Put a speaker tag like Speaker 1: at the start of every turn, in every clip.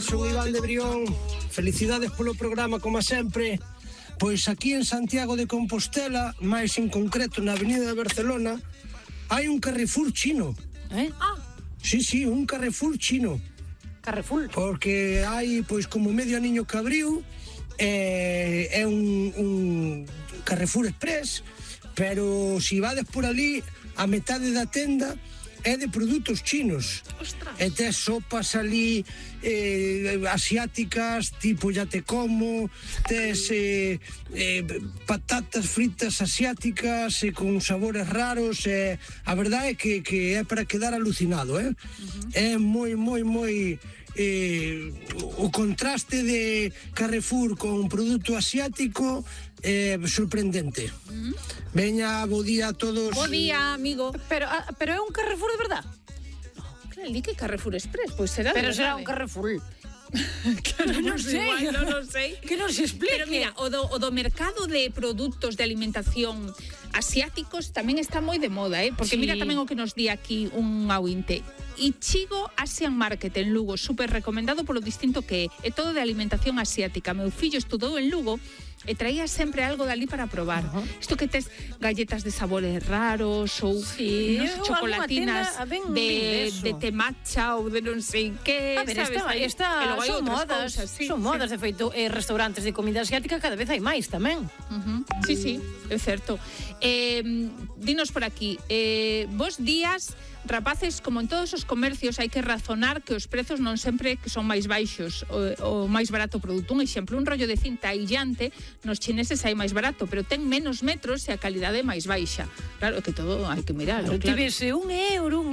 Speaker 1: Son Iván de Brión, felicidades polo programa como sempre. Pois aquí en Santiago de Compostela, máis en concreto na Avenida de Barcelona, hai un Carrefour chino. Sí, un Carrefour chino.
Speaker 2: Carrefour?
Speaker 1: Porque hai pois como medio aniño que abriu, é un Carrefour Express, pero si vades por ali, a metade da tenda é de produtos chinos.
Speaker 2: Ostras.
Speaker 1: E tes sopas ali asiáticas, tipo ya te como, tes patatas fritas asiáticas con sabores raros, a verdade é que é para quedar alucinado, É moi o contraste de Carrefour con produto asiático sorprendente. Veña, bo día a todos.
Speaker 2: Bo día, amigo. Pero é un Carrefour de verdad?
Speaker 3: Claro, di que Carrefour Express, pois será de
Speaker 2: Pero será
Speaker 3: verdade.
Speaker 2: un Carrefour.
Speaker 3: Non sei.
Speaker 2: Que non se explique.
Speaker 3: Pero mira, o do mercado de produtos de alimentación asiáticos tamén está moi de moda, porque
Speaker 2: Sí.
Speaker 3: mira tamén o que nos di aquí un ointe. Ichigo Asian Market en Lugo, super recomendado polo distinto que é todo de alimentación asiática. Meu fillo estudou en Lugo e traía sempre algo dali para probar. Isto que tes galletas de sabores raros ou
Speaker 2: Sí,
Speaker 3: non sei,
Speaker 2: ou
Speaker 3: chocolatinas
Speaker 2: alguna tenda
Speaker 3: de te matcha ou de non sei que,
Speaker 2: A ver,
Speaker 3: sabes?
Speaker 2: esta
Speaker 3: E logo hai
Speaker 2: son
Speaker 3: outras
Speaker 2: modas,
Speaker 3: cousas, sí,
Speaker 2: son modas, de feito, restaurantes de comida asiática cada vez hai máis tamén.
Speaker 3: Sí, é certo. Dinos por aquí, bos días, rapaces, como en todos os comercios hai que razonar que os prezos non sempre que son máis baixos, o máis barato o produto. Un exemplo, un rollo de cinta aillante nos chineses hai máis barato, pero ten menos metros e a calidade é máis baixa. Claro, que todo hai que mirarlo,
Speaker 2: Ti vese un euro,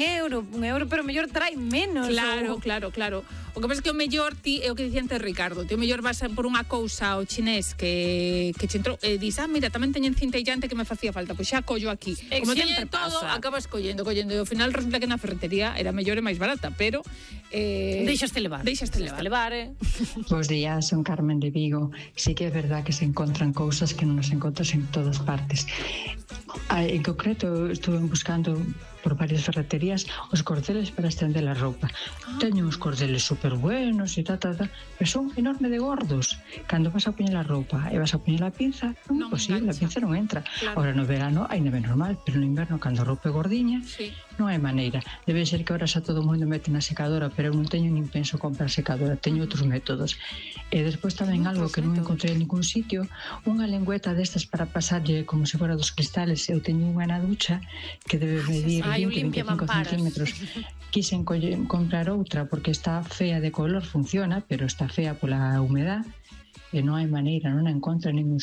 Speaker 2: pero mellor trae menos.
Speaker 3: Claro. O que pasa é que o mellor ti, é o que dicía antes Ricardo, ti o mellor vas por unha cousa ao chinés que che entrou e dis, mira, tamén teñen cinta aillante que me facía falta, pois xa collo aquí. Como teñen todo, acabas collendo, e ao final resulta que na ferretería era mellor e máis barata, pero
Speaker 2: Deixaste levar.
Speaker 4: Bos días, son Carmen de Vigo. Sí que é verdad que se encontran cousas que non nos encontras en todas partes. En concreto, estuve buscando por varias ferreterías os cordeles para estender a roupa. Teño uns cordeles super buenos e pero son enorme de gordos. Cando vas a poñer a roupa e vas a poñer a pinza, non é posible, a pinza non entra. Ahora no verano ainda é normal, pero no inverno, cando a roupa é gordiña, non hai maneira. Debe ser que ahora xa todo o mundo mete na secadora, pero eu non teño nin penso comprar secadora, teño outros métodos. E despois tamén algo que non encontrei en ningún sitio, unha lengüeta destas para pasarlle como se fora dos cristales. Eu teño unha na ducha que debe medir 20-25 centímetros. Quisen comprar outra porque está fea de color, funciona, pero está fea pola humedad e non hai maneira, non a encontro en ningún